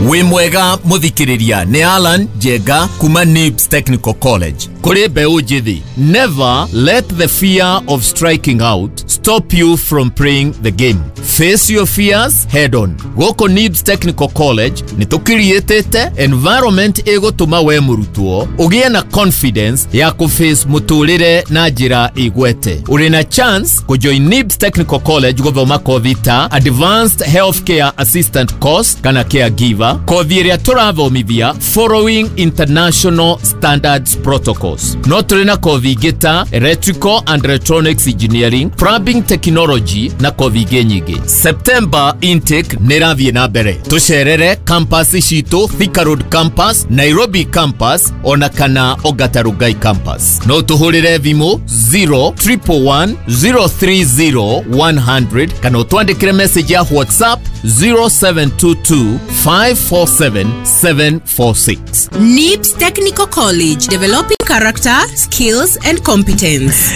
Wĩ mwega mũthikĩrĩria, nĩ Alan Njenga kuma NIBS Technical College. Kũrĩ mbeũ njĩthĩ, never let the fear of striking out stop you from playing the game. Face your fears head on. Gũkũ NIBS Technical College nĩ tũkiriĩtĩte environment ĩgũtũma we mũrutwo ũgĩe na confidence ya kũface mũtũrĩre na njĩra igwete. Ũrĩ na chance kũjoin NIBS Technical College gũthoma kothi ta Advanced Healthcare Assistant Course kana Caregiver, kothi ĩrĩa tũrathomithia following international standards protocols. No tũrĩ na kothi ingĩ ta Electrical and Electronics Engineering, Plumbing Technology na kothi ingĩ nyingĩ. September intake nĩ ĩrathiĩ na mbere. Tũcerere campus citũ, Thika Road Campus, Nairobi Campus ona kana Ongata Rongai Campus. No tũhũrĩre thimũ 0111 030 100 kana ũtwandĩkĩre message ya WhatsApp 0722 547 746. NIBS Technical College, developing character, skills and competence.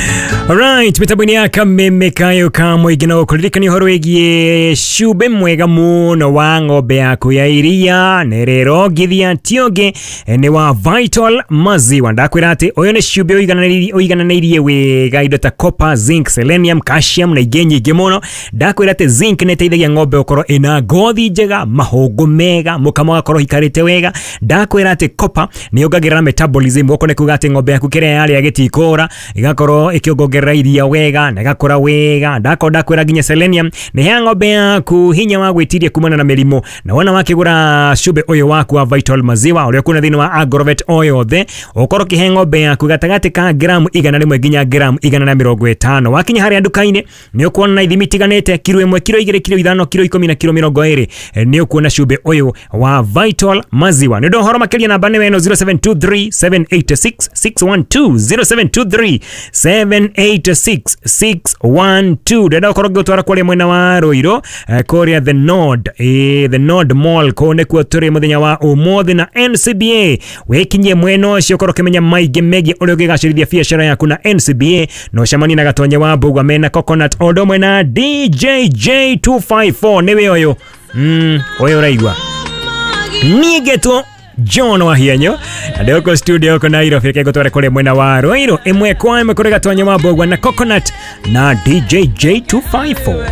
Alright, mitambo-inĩ ya kameme kayo ka mũingĩ no kũririkania ũhoro wĩgiĩ cumbĩ mwega mũno wa ng'ombe yaku ya iria nĩ rĩrongithia ti ũngĩ nĩ wa Vital Maziwa. Ndakwĩra atĩ ũyũ nĩ cumbĩ ũigananĩirie wega indo ta copper, zinc, selenium, calcium na ingĩ nyingĩ mũno. Ndakwĩra atĩ zinc nĩ ĩteithagia ng'ombe gũkorwo ĩna ngothi njega, mahũngũ mega, mũkamo ũgakorwo ũikarĩte wega. Ndakwĩra atĩ copper nĩ yongagĩrĩra metabolism, gũkũ nĩ kuga atĩ ng'ombe yaku kĩrĩa yarĩa gĩtikũra, ĩgakorwo ĩkĩongongerera iria wega na ĩgakũra wega. Ndakorwo ndakwĩra nginya selenium nĩ heaga ng'ombe yaku hinya wa gwĩtiria kumana na mĩrimũ. Na wona wakĩgũra cumbĩ ũyũ waku wa Vital Maziwa ũrĩa ũkuona thĩinĩ wa Agrovet o yothe, ũkorwo ũkĩhe ng'ombe yaku gatagatĩ ka gramu 100 nginya gramu 150. Wakinya harĩa nduka-inĩ nĩ ũkuona na ithimi itiganĩte, kiro 1, kiro 2, kiro 5, kiro 10 na kiro 20. Nĩ ũkuona cumbĩ ũyũ wa Vital Maziwa. Nĩ ũndũ wa ũhoro makĩria namba nĩ ĩno 0723 786 612, 0723 786 612. Ndĩrenda gũkorwo ngĩgũtwara kũrĩa mwena wa Ruiru, kũrĩa The Nord, The Nord Mall, kũu nĩkuo tũrĩ mũthenya wa ũmũthĩ na NCBA. Wĩkinyie mwena ũcio ũkorwo ũkĩmenya maingĩ megiĩ ũrĩa ũngĩgacĩrithia biacara yaku na NCBA, na ũcemanie na Gatonye wa Mbugua mena Coconut o ũndũ ũmwe na DJJ254. Nĩwe ũyũ ũyũ ũraigua niĩ ngetwo John Wahianyo na ndĩgũkũ studio gũkũ Nairobi. Reke ngũtware kũrĩa mwena wa Ruiru ĩmwe kwa ĩmwe kũrĩ Gatonye wa Mbugua na Coconut na DJJ254.